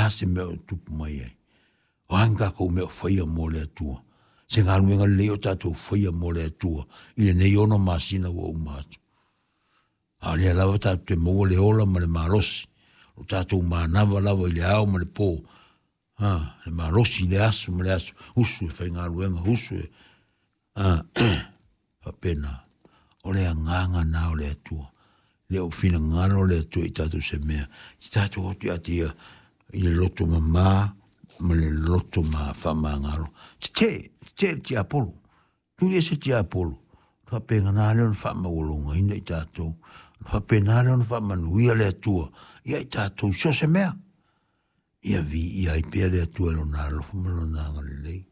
a se mea o tupu mai ai? O a ni tatou mea o faia mo le Atua? Se galuega lelei o tatou faia mo le Atua i lenei 6 masina ua uma atu. A o lea lava tatou te maua le ola ma le malosi, o tatou manava lava i le ao ma le po, a, le malosi i le aso ma le aso, usu e faigaluega, usu e, a, faapena. O le agaga na o le Atua. Le o finagalo le Atua i tatou se mea, i tatou atu ia te ia i le loto mamā ma le loto ma faamagalo. Tetee, tetee le tiapolo. Tuli ese tiapolo. Faapena lea ona faamaualugaina i tatou. Faapena lea ona faamanuia le Atua ia i tatou so o se mea. Ia viia ai pea le Atua i lona alofa ma lona agalelei.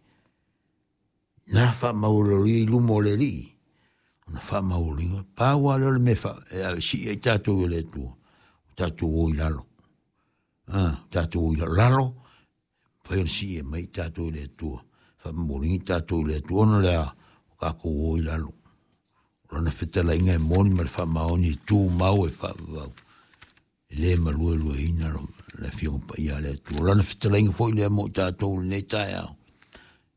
Na faamaualuga i luma o le Alii, ona faamaualuga, pau lava lea o le mea e ave sii ai tatou e le Atua, o tatou o i lalo. A, tatou o i lalo, lalo, mafai ona sii e mai tatou e le Atua, faamaualuga tatou e le Atua, ona o le a, o tatou o i lalo. O lana fetalaiga e moni ma le faamaoni e tumau e faavavau. E le maluelueina le Afioga Paia a le Atua. O lana fetalaiga foi lea mo i tatou i lenei taeao,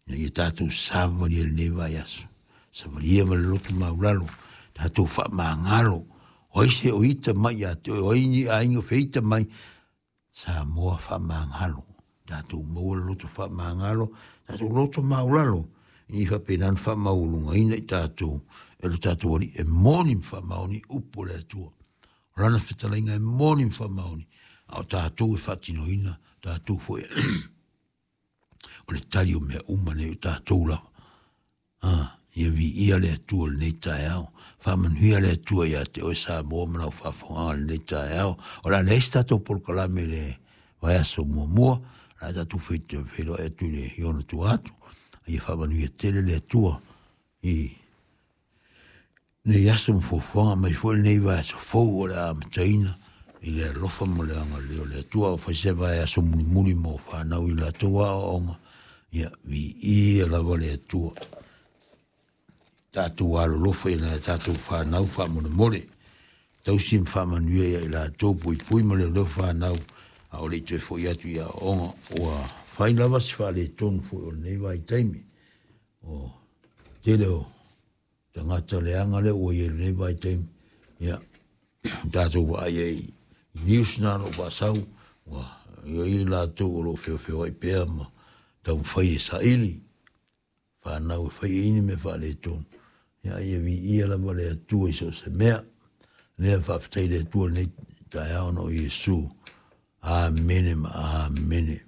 ina ia tatou savalia i lenei vaiaso, savalia ma le loto maulalo, tatou faamagalo. O ai se o ita mai ia te oe, o ai ni aiga o feita mai, Samoa faamagalo. Tatou maua le loto faamagalo, tatou loto maulalo, ina ia faapena ona faamaualugaina i tatou e lo tatou Alii e moni ma faamaoni upu o le Atua. O lana fetalaiga e moni ma faamaoni, a o tatou e faatinoina, tatou foi o le tali o mea uma nei o tatou lava. A, ia viia le Atua i lenei taeao. Faamanuia le Atua ia te oe Samoa ma lau faafofogaaga i lenei taeao. O le a leai se tatou polokalame i le vaiaso muamua, o le a tatou feiloai atu i le i ona tua atu. Ia faamanuia tele le Atua i lenei aso ma fuafuaga mai foi lenei vaiaso fou o le a amataina i le alofa ma le agalelei o le Atua. A fai se vaiaso mulimuli mo fanau i latou aoaoga, ia viia lava le Atua. Tatou alolofa i nai a tatou fanau faamolemole. Tausi ma faamanuia ia i latou, puipui ma leoleo fanau, a o le i toe foi atu i aoaoga. Ua fai lava se faaletonu foi o lenei vaitaimi. O tele o tagata leaga lea ua i ai i lenei vaitaimi, ia, tatou vaai ai i news na o lo o faasau, ua i ai latou o lo o feofeoai pea ma taumafai e saili fanau e fai ai ni mea faaletonu. Ia, ia viia lava le Atua i so o se mea. Lea faafetai i le Atua i lenei taeao ona o Iesu. Amene ma amene.